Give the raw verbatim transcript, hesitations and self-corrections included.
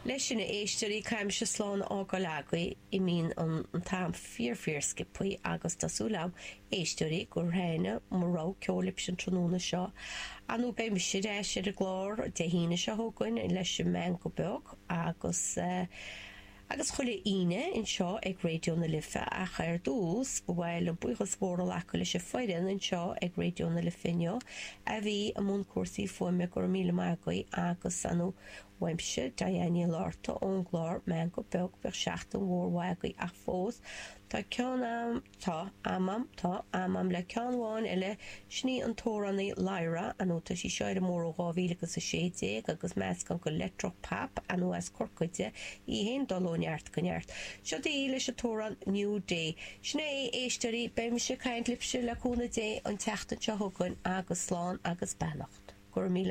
Leis sin a éisteoirí caithfidh mise slán a fhágáil agaibh imíonn an an t-am fíor fíor sciobtha agus tá súil agam éisteoirí gur thaitin mo rogha ceoil libh an tráthnóna seo. Anu beidh mise ar ais ar an gclár Dé hAoine seo chugainn leis an Meangadh Beag agus uh, agus chuile Aoine anseo ag Raidió na Life ach ar dtús ba mhaith liom buíochas mór a ghlacadh leis an bhfoireann anseo ag Raidió na Life inniu a bhí i mbun cúrsaí fuaime go raibh míle maith agaibh agus anu uaimse Diane Lorta ón gclár Meangadh Beag bíodh seachtain mhór mhaith agaibh ach fós Tá ceann am tá amam tá amam le ceann amháin eile sin í an t-amhránaí Lyra anu tá sí seo ar an mór ó dhá mhíle agus a sé déag agus meascán go leictreach pop anu as Corcaigh í féin dul ó neart go neart. Seo í leis an t-amhrán New Day. Sin é éisteoirí beidh mise ag caint libhse le cúnamh Dé an tseachtain seo chugainn agus slán agus beannacht. Gur míle